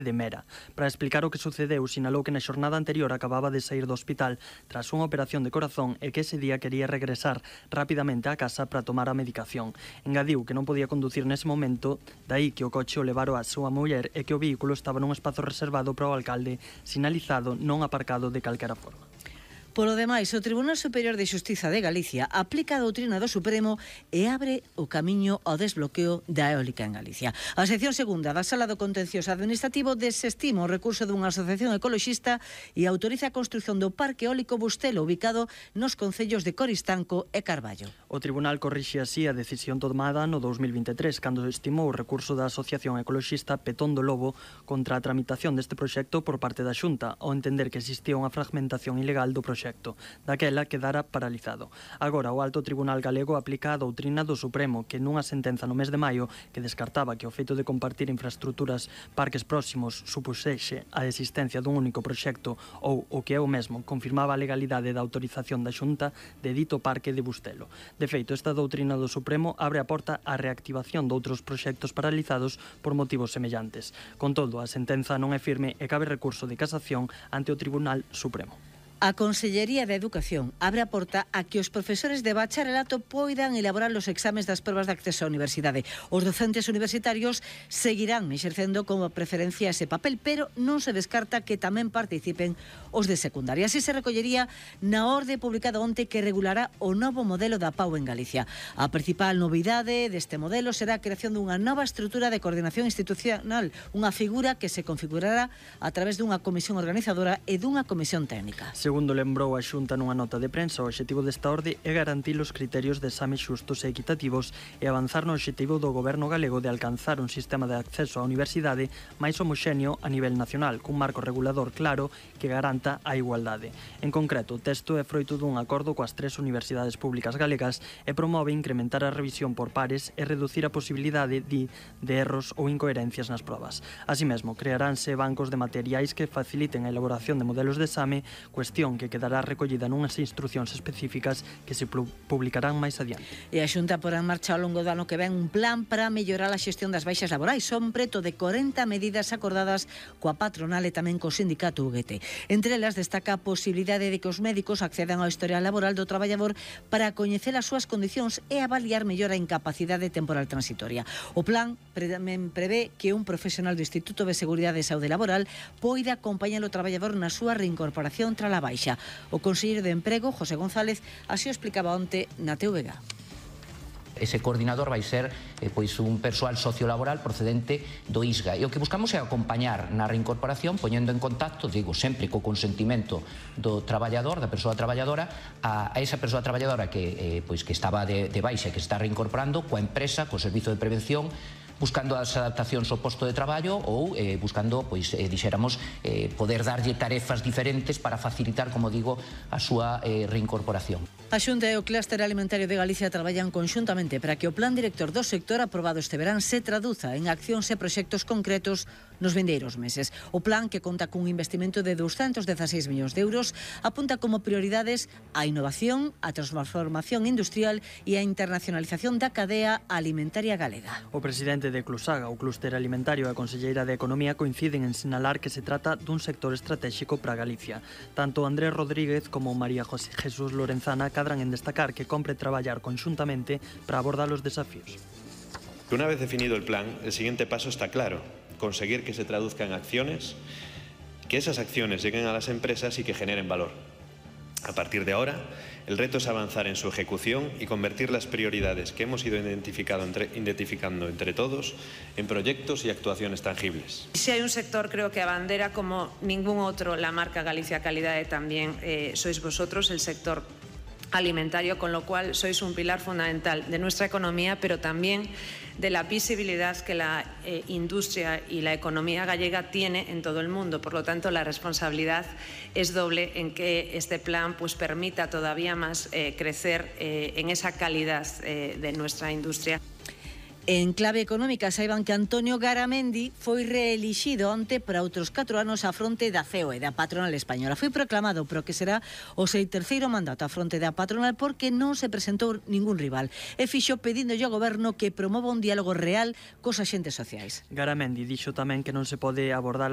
de Mera. Para explicar o que sucedeu, sinalou que na xornada anterior acababa de sair do hospital tras unha operación de corazón e que ese día quería regresar rapidamente á casa para tomar a medicación. Engadiu que non podía conducir nese momento, dai que o coche o levaron a súa muller e que o vehículo estaba nun espazo reservado para o alcalde, sinalizado, non aparcado de calquera forma. Polo demais, o Tribunal Superior de Xustiza de Galicia aplica a doutrina do Supremo e abre o camiño ao desbloqueo da eólica en Galicia. A sección segunda da Sala do Contencioso Administrativo desestima o recurso dunha asociación ecoloxista e autoriza a construción do Parque Eólico Bustelo, ubicado nos concellos de Coristanco e Carballo. O Tribunal corrixe así a decisión tomada no 2023, cando estimou o recurso da Asociación Ecoloxista Petón do Lobo contra a tramitación deste proxecto por parte da Xunta, ao entender que existía unha fragmentación ilegal do proxecto. Daquela quedara paralizado. Agora, o Alto Tribunal Galego aplica a doutrina do Supremo, que nunha sentenza no mes de maio que descartaba que o feito de compartir infraestruturas parques próximos supuxese a existencia dun único proxecto ou, o que é o mesmo, confirmaba a legalidade da autorización da Xunta de dito parque de Bustelo. De feito, esta doutrina do Supremo abre a porta á reactivación doutros proxectos paralizados por motivos semellantes. Con todo, a sentenza non é firme e cabe recurso de casación ante o Tribunal Supremo. A Consellería de Educación abre a porta a que os profesores de bacharelato poidan elaborar os exames das probas de acceso á universidade. Os docentes universitarios seguirán exercendo como preferencia ese papel, pero non se descarta que tamén participen os de secundaria. Así se recollería na orde publicada onte que regulará o novo modelo da PAU en Galicia. A principal novidade deste modelo será a creación dunha nova estrutura de coordinación institucional, unha figura que se configurará a través dunha comisión organizadora e dunha comisión técnica. Segundo lembrou a Xunta nunha nota de prensa, o obxectivo desta orde é garantir os criterios de exames xustos e equitativos e avanzar no obxectivo do Goberno galego de alcanzar un sistema de acceso á universidade máis homoxéneo a nivel nacional, cun marco regulador claro que garanta a igualdade. En concreto, o texto é froito dun acordo coas 3 universidades públicas galegas e promove incrementar a revisión por pares e reducir a posibilidade de erros ou incoherencias nas probas. Así mesmo, crearánse bancos de materiais que faciliten a elaboración de modelos de exame, cuestión que quedará recollida nunhas instruccións específicas que se publicarán máis adiante. E a Xunta porá en marcha ao longo do ano que ven un plan para mellorar a xestión das baixas laborais. Son preto de 40 medidas acordadas coa patronal e tamén co sindicato UGT. Entre elas destaca a posibilidade de que os médicos accedan ao historial laboral do traballador para coñecer as súas condicións e avaliar mellor a incapacidade temporal transitoria. O plan tamén prevé que un profesional do Instituto de Seguridade e Saúde Laboral poida acompañar o traballador na súa reincorporación tras a baixa. O conselleiro de Emprego, José González, así o explicaba onte na TVG. Ese coordinador vai ser pois un persoal sociolaboral procedente do ISGA e o que buscamos é acompañar na reincorporación poñendo en contacto, digo, sempre co consentimento do traballador, da persoa traballadora a esa persoa traballadora que estaba de baixa e que está reincorporando coa empresa, co servizo de prevención, buscando as adaptacións ao posto de traballo ou buscando, dixéramos, poder darlle tarefas diferentes para facilitar, como digo, a súa reincorporación. A Xunta e o Clúster Alimentario de Galicia traballan conxuntamente para que o plan director do sector aprobado este verán se traduza en accións e proxectos concretos nos vindeiros meses. O plan, que conta cun investimento de 216 millóns de euros, apunta como prioridades a innovación, a transformación industrial e a internacionalización da cadea alimentaria galega. O presidente de Clusaga, o Clúster Alimentario e a conselleira de Economía coinciden en sinalar que se trata dun sector estratégico para Galicia. Tanto Andrés Rodríguez como María José Jesús Lorenzana cadran en destacar que compre traballar conxuntamente para abordar os desafíos. Una vez definido el plan, el siguiente paso está claro: conseguir que se traduzca en acciones, que esas acciones lleguen a las empresas y que generen valor. A partir de ahora, el reto es avanzar en su ejecución y convertir las prioridades que hemos ido identificando entre todos en proyectos y actuaciones tangibles. Si hay un sector, creo que abandera como ningún otro la marca Galicia Calidad, también sois vosotros, el sector alimentario, con lo cual sois un pilar fundamental de nuestra economía, pero también de la visibilidad que la industria y la economía gallega tiene en todo el mundo. Por lo tanto, la responsabilidad es doble en que este plan permita todavía más crecer en esa calidad de nuestra industria. En clave económica, saiban que Antonio Garamendi foi reelixido onte para outros 4 anos á fronte da COE, da patronal española. Foi proclamado pero que será o seu terceiro mandato á fronte da patronal porque non se presentou ningún rival. E fixo pedíndolle ao goberno que promova un diálogo real cos axentes sociais. Garamendi dixo tamén que non se pode abordar